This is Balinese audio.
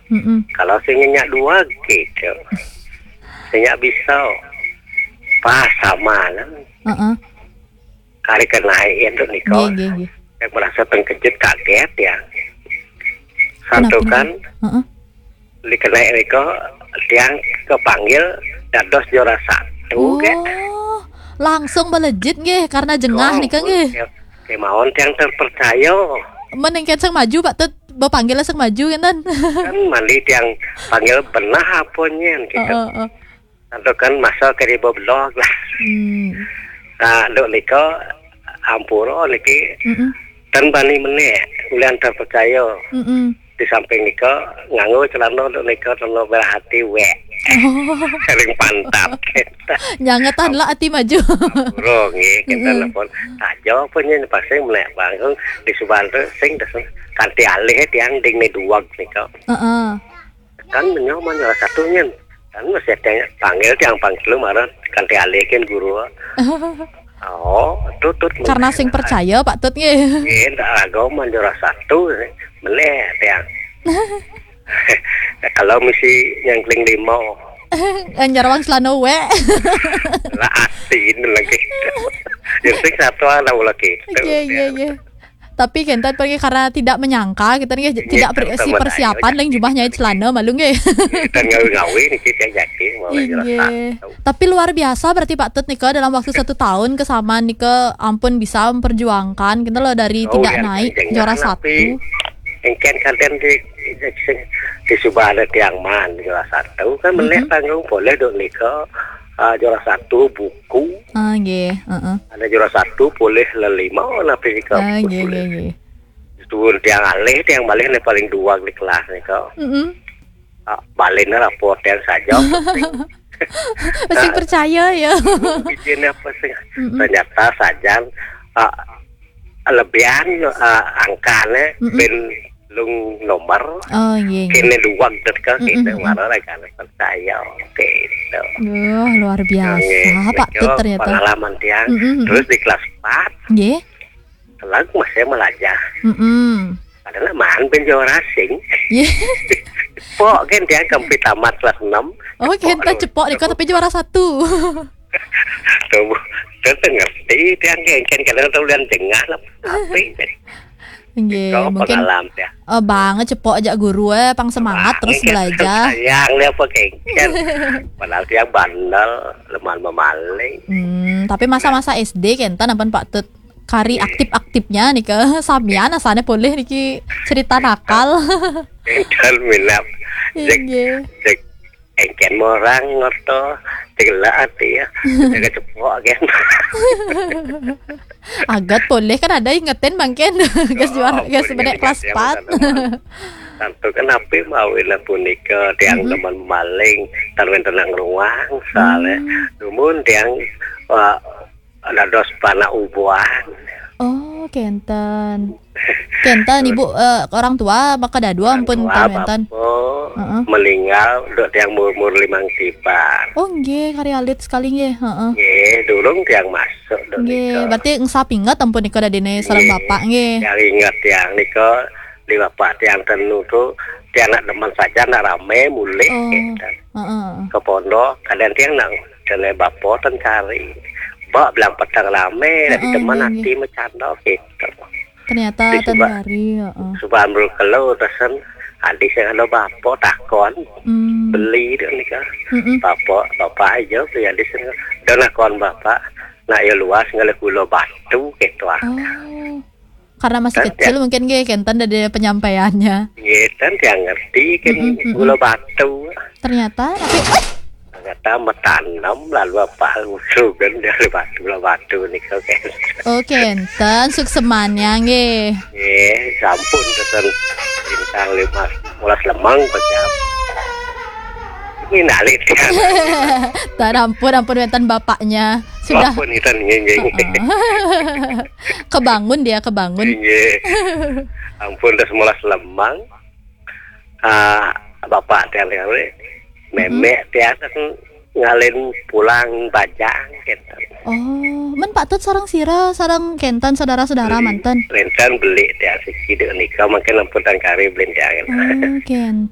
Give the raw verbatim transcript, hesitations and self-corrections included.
Mm-mm. Kalau sing nyak dua gitu. Sing nyak bisa. Pas sama lah. Heeh. Kari kenai itu niko. Nggih, nggih, nggih. Yang merasa terkejut, kaget ya. Kenapa, Santukan kenapa? Heeh. Dikenai niko tiang kepanggil dados juara satu, ke? Oh, langsung melejit nggih karena jengah. Oh, nika nggih. Ya, kemauan tiang terpercaya. Menengket sang maju Pak Tut, bapanggil sang maju kan? Kan mandi tiang panggil benah apa nyen gitu. Heeh, heeh. Atau kan masa ke di blog lah. Hmm. Nah, dok niko ampura niki. Mm-mm. Tan bani menek, ulian terpercaya. Mm-mm. Di samping niko nganggo celana dok niko celana merah hati wek. Oh. Sering pantat. Nyangetan lah ati maju. Ampura nggih, kita Mm-mm. Nelpon. Tajo apa nyen pasti menek bangun di Subante sing des kanti alih tiang ding ne duwag niko. Heeh. Kan menyoman salah satunya. Kan masih ada yang panggil, yang panggil marah kanti alih kan guru. Oh, tutut. Karena sing percaya Pak Tut nggih. Nggih, ndak ragu manjur satu meneh tiang. Kalau misi nyangkling lima. Nyarawang selano we. Lah asin lagi. Yang sing satu anak lagi. Iya, iya, iya. Tapi kenten pergi karena tidak menyangka, kita nih tidak ber- si persiapan yang jumlahnya celana malu nggih. Kita ngawi-ngawi nih kita yakin mau. Iya. Tapi luar biasa berarti Pak Tut nika dalam waktu satu tahun kesamaan nika ampun bisa memperjuangkan kita loh dari tidak naik juara satu. Engken kadang di di Subang ada tiang man juara satu kan. Mm-mm. Melihat tanggung boleh dok nika, ah, juara satu buku. Ah, nggih, heeh. Ada juara satu boleh lelima napi nika. Ah, nggih, nggih, nggih. Turun tiang alih, tiang malih nih paling dua di kelas nih kok. Mm-mm. Ah, balik nih rapor tiang saja. Masih percaya ya. Izin apa sih? Mm-mm. Ternyata saja, ah, lebihan, ah, angkanya ben lung nomor. Oh, iya, iya. Kene dua dekat kita marah kan percaya gitu. Wah, luar biasa, Pak Tut ternyata. Pengalaman tiang. Mm-mm. Terus di kelas empat. Nggih. Lagu masih melajah. Mm-mm. Padahal man ben juara sing. Iya. Pok kan dia kempit tamat kelas enam. Oh, kita cepok nih, tapi juara satu. Tuh, kita ngerti dia kan kadang tahu dan jengah lah. Tapi nggih, mungkin pengalaman ya. Eh, banget cepok aja guru eh pang semangat terus belajar. Sayang dia apa kengken. Padahal dia bandel, lemah memaling. Hmm, tapi masa-masa S D kenten ampun Pak Tut kari aktif-aktifnya nih ke samian asane boleh niki cerita nakal. Dan minap. Cek, cek engken morang ngoto, cek lah ati ya. Jaga cepok kan. Agat boleh kan ada ingetin mangken. Gas juara, gas benek kelas empat. Tentu kan api mau punika tiang teman maling, tan wenten nang ruang soalnya. Dumun tiang, wah, dados panak ubuan. Oh, kenten. Kenten, Ibu, eh, orang tua maka dadua ampun wenten. Heeh. Meninggal dok tiang umur limang tiban. Oh, nggih, kari alit sekali nggih. Heeh. Nggih, durung tiang masuk dok. Nggih, berarti ngesap inget ampun nika dadine sareng bapak nggih. Yang inget tiang nika di bapak tiang tenu tu tiang nak demen saja nak rame mulih gitu. Heeh. Ke pondok, kadang tiang nak kene bapak ten kari. Bak bilang petang rame, dari teman hati macanda gitu. Ternyata di ten kari, heeh. Subang berkelo tesen, adi saya kalau bapak takon, beli dia nika. Bapak, bapak aja beli adi sana. Dan akon bapak, nak ya luas ngalih gula batu gitu ah. Oh. Karena masih kecil mungkin nggih kenten dari penyampaiannya. Nggih, kan tiang ngerti kan gula batu. Ternyata tapi ternyata metanam lalu apa usugan dari batu lah batu nih kan. Oh, kenten suksemannya nggih. Nggih, sampun pesen bintang lima belas lemang pecah. Ini nalik tiang. Tan ampun, ampun wenten bapaknya. Sudah. Ampun, nggih, nggih. Kebangun dia, kebangun. Nggih. Ampun, dah sebelas lemang. Ah, bapak tiang tiang memek tiang ngalin pulang bajang gitu. Oh, men Pak Tut sareng sira, sareng kenten saudara-saudara manten. Kenten beli tiang siki dek nika mungkin ampun tangkari beli tiang. Oh, kenten.